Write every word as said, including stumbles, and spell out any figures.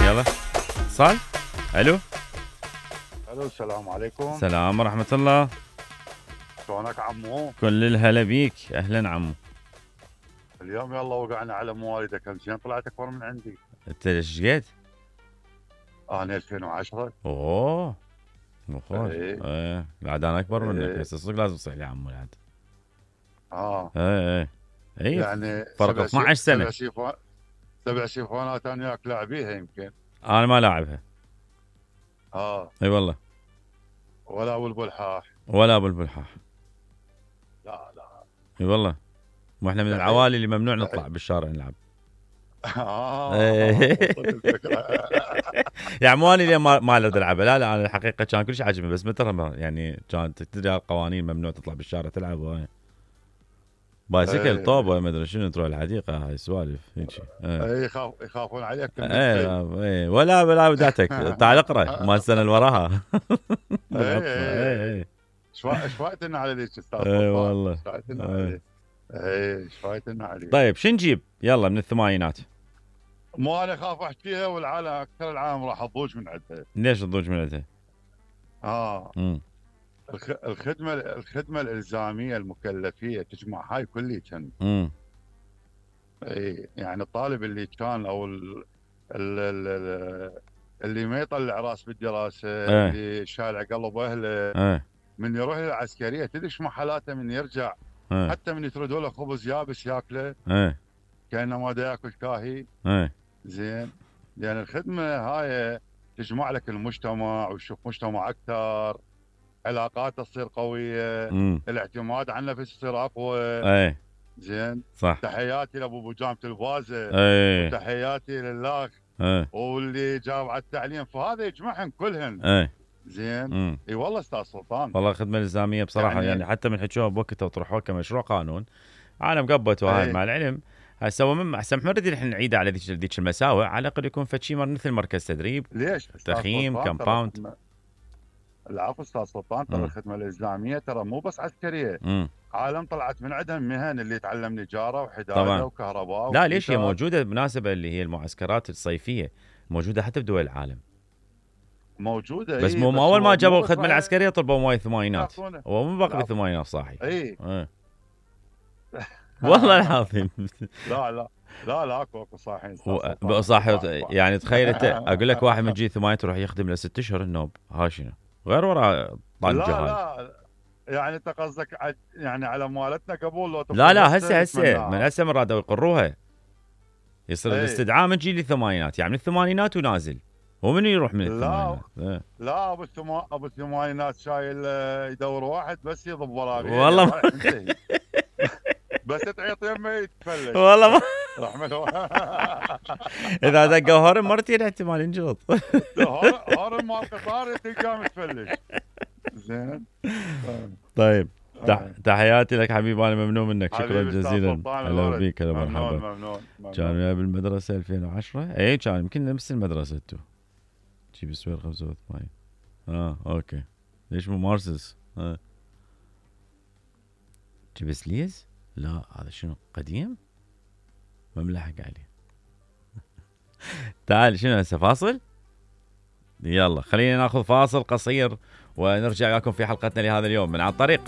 يلا اتصال. الو الو السلام عليكم. السلام ورحمة الله. شلونك عمو؟ كل الهلا بيك، اهلا عمو. اليوم يلا وقعنا على مواليدك، زين طلعت اكبر من عندي. انت ايش قد؟ انا ألفين وعشرة. اوه مخوش. ايه ايه بعد انا اكبر منك، ايه هسه صدق لازم تصيح لي عمو بعد. اه ايه ايه ايه يعني فرق سبع اثنعش سي... سنة. سبع سيفون سبع سيفونات انا وياك لاعبيها يمكن. انا ما لاعبها. اه اي والله. ولا ابو البلحاح. ولا ابو البلحاح. لا لا. اي والله. واحنا من العوالي اللي ممنوع نطلع بالشارع نلعب. اه إيه. وصلت الفكرة. يعني مو انا اللي ما ما اريد العبها، لا لا انا الحقيقه كان كل شيء عاجبني، بس متى ما- يعني كانت تدري القوانين ممنوع تطلع بالشارع تلعب وهاي. بايسكل ايه طوبه ما ادري شنو تروح الحديقه، هاي سوالف هيك. ايه ايه يخاف يخافون عليك كل ايه ايه ولا ولا بداتك تعال اقرا ما السنه اللي وراها. ايه ايه ايه ايه ايش فايتنا على ذيك استاذ ايه سلطان؟ والله. ايش فايتنا ايه. عليه؟ ايه ايش فايتنا عليه؟ طيب شو نجيب يلا من الثمانينات؟ مو انا اخاف احكيها والعالم اكثر العالم راح تضوج من عندها. ليش تضوج من عندها؟ اه امم الخ... الخدمه الخدمه الالزاميه المكلفيه تجمع هاي كلي كان. امم اي يعني الطالب اللي كان او ال... ال... ال... اللي ما يطلع راس بالدراسه، ايه اللي شالع قلب اهله ايه من يروح للعسكريه، تدري شو حالاته من يرجع؟ ايه حتى من يتردوا له خبز يابس ياكله ايه كانما دا ياكل كاهي. ايه زين، لان الخدمه هاي تجمع لك المجتمع وتشوف مجتمع اكثر، علاقاته تصير قويه، امم الاعتماد على النفس يصير اقوى. ايه زين، صح. تحياتي لابو بجامه الفازه، ايه وتحياتي للاخ ايه واللي جاب على التعليم، فهذا يجمعهم كلهن. ايه زين، امم اي والله استاذ سلطان. والله الخدمه الالزاميه بصراحه يعني, يعني يعني حتى من حكوها بوقتها وطرحوها كمشروع قانون عالم قبته هاي ايه مع العلم. هسه هو من احسن ما نريد الحين نعيده على ذيك ذيك المساوئ، على الاقل يكون فد شيء مثل مركز تدريب، ليش استاذ تخييم، سلطان؟ ترى كمباوند. الخدمه، العفو استاذ سلطان، ترى امم الخدمه الالزاميه ترى مو بس عسكريه، امم عالم طلعت من عندهم مهن، اللي يتعلم نجاره وحداده طبعا. وكهرباء لا ليش هي وكتاب. موجوده بالمناسبه اللي هي المعسكرات الصيفيه موجوده حتى بدول العالم، موجوده بس اي، مو ما بس اول ما هو جابوا مو بس الخدمه راح العسكريه طلبوا مويه الثمانينات، يعطونه. هو مو باقي لا بالثمانينات صاحي. اي ايه والله العظيم. لا لا لا لا اكو اكو صاحين استاذ و- سلطان، صح اكو صح صح. يعني تخيل انت اقول لك واحد من جي ثمانية يروح يخدم له ست اشهر النوب، ها شنو غير ورا طنجه لا هاي. لا يعني انت قصدك ع- يعني على مالتنا قبول لو لا تقول لا هسه هسه هسه من نتمناها. هسه من رادوا يقروها، يصير اي الاستدعاء من جيل الثمانينات، يعني من الثمانينات ونازل، ومن يروح من لا الثمانينات. ايه. لا ابو الثما ابو الثمانينات شايل آه، يدور واحد بس يضب وراه غير والله ما رايح انتهي. بس تعيط يمه يتفلش. والله ما رحمه الله. اذا دقوا هرم مرتين احتمال ينجلط. هارم مال قطار تلقاه متفلش. زين. طيب تح... آه. تحياتي لك حبيبي، انا ممنون منك، شكرا حبيبي استاذ جزيلا. سلطان هلا الورد، بيك، هلا ممنون مرحبا. ممنون ممنون. كان وياي بالمدرسه ألفين وعشرة، اي كان يمكن نفس المدرسه انتو، جيب السوير خمسة وثمانين. اه اوكي ليش مو مارسس؟ اه جيب سليز؟ لا هذا شنو قديم؟ ما ملحق عليه. تعال شنو هسه فاصل؟ يلا خلينا ناخذ فاصل قصير ونرجع لكم في حلقتنا لهذا اليوم من عن طريق